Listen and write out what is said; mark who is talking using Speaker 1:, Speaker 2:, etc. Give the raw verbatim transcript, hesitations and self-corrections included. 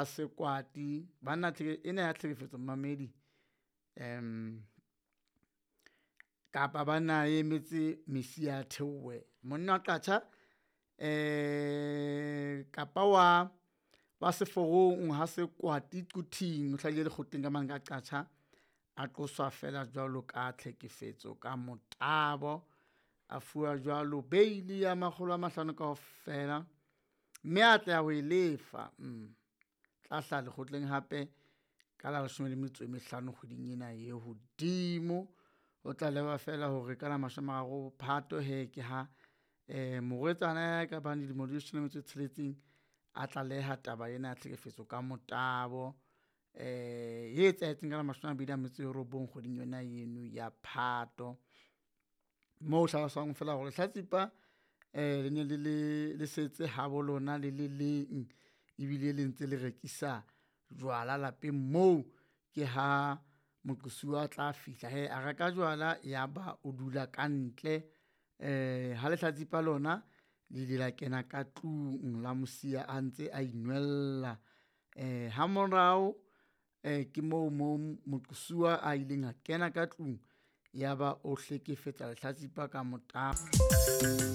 Speaker 1: Sekwati banna ena ya tlhekefetso momamedi um kapa banna e emetse Messia a theohe. Monna wa Qacha um kapa wa wa seforong ha Sekwati Quthing o hlahile lekgotleng ka mane ka Qacha a qoswa fela jwalo ka tlhekefetso ka motabo. A fuwa jwalo bail ya makgolo a mahlano kaofela, mme a atleha ho e lefa. Mm tla hlaha lekgotleng hape ka la leshome le metso e mehlano kgweding ena e hodimo. O tlalewa fela hore ka la mashome a mararo Phato hee ke ha eh morwetsana ya ka bang dilemo di leshome le metso e tsheletseng a tlaleha taba ena ya tlhekefetso ka motabo eh e etsahetseng ka la mashome a mabedi a metso e robong kgweding yona eno ya Phato. Moo ho hlaloswang fela hore lehlatsipa eh le ne le le le setse habo lona le le leng, ebile le ntse le rekisa jwala lapeng moo. Ke ha moqosuwa a tla fihla hee a reka jwala ya ba o dula ka ntle eh ha lehlatsipa lona le ile la kena ka tlung la mo siya a ntse a inwella. Eh ha morao eh ke moo mo moqosuwa a ileng a kena ka tlung ya ba o hlekefetsa lehlatsipa ka motabo.